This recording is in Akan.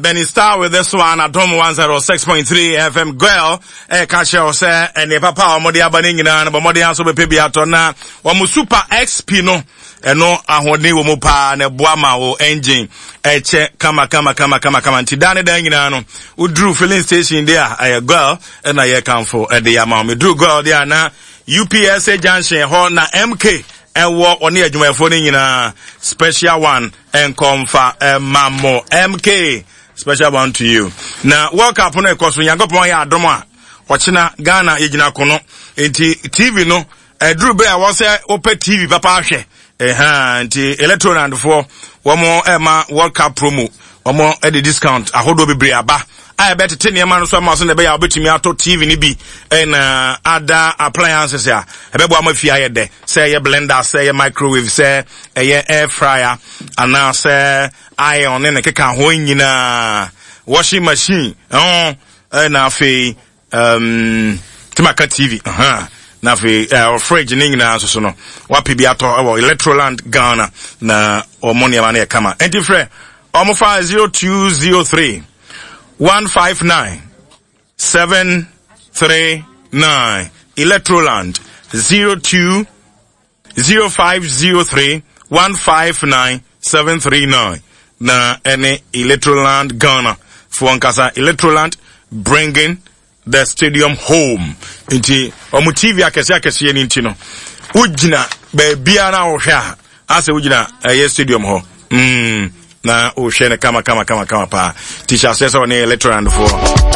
Benny Star with this one, Adom 106.3 FM. Girl, eh, ka kyerɛ wo sɛ ɛne papa a wɔde aba no nyinaa no bɔ mmɔden aso bɛpɛ bi atɔ na wɔn Super XP no ɛno ahoɔden wɔ mu paa na ɛboa ma wo engine ɛkyɛ kama kama kama kama kama. Nti daa ne daa nyinaa no woduru filling station de a, ɛyɛ Girl ɛna yɛkamfo ɛde ama wo. Meduru Girl de a, na UPSA junction hɔ na MK ɛwɔ, ɔne adwumayɛfoɔ no nyinaa. Special one nkɔmfa ɛma mo, MK, special one to you. Na World Cup no ɛkɔ so, Nyankopɔn yɛ adom a, ɔkyena Ghana yɛgyina kono, nti TV no ɛduru bere a wɔ sɛ wopɛ TV papa ahwɛ ɛha. Nti Electrolandfoɔ wɔn ɛma World Cup promo, wɔn ɛde discount ahodoɔ bebree aba a ɛbɛtete nneɛma no so ama so na ɛbɛyɛ a wobɛtumi atɔ TV no bi ɛna ada appliances a ɛbɛboa ma fie ayɛ dɛ, sɛ ɛyɛ blender, sɛ ɛyɛ microwave, sɛ ɛyɛ air fryer anaasɛ iron ne ne keka ho nyinaa, washing machine ɛho, ɛna afei timaka TV na afei fridge ne nyinaa nso so no, wapɛ bi atɔ ɛwɔ Electroland Ghana na ɔmo nneɛma no yɛ kama. Ɛnti frɛ ɔmo fa 0203 159 739. Electroland, 02 0503 159 739 na ɛne Electroland Ghana foɔ nkasa. Electroland, bringing the stadium home. Nti ɔmo TV akɛseɛ akɛseɛ no nti no, wogyina baabiara a wohwɛ a, asɛ wogyina ɛyɛ stadium hɔ na wohwɛ no kama kama kama kama paa. Nti hyɛ aseɛ sɛ ɔne Electroland foɔ.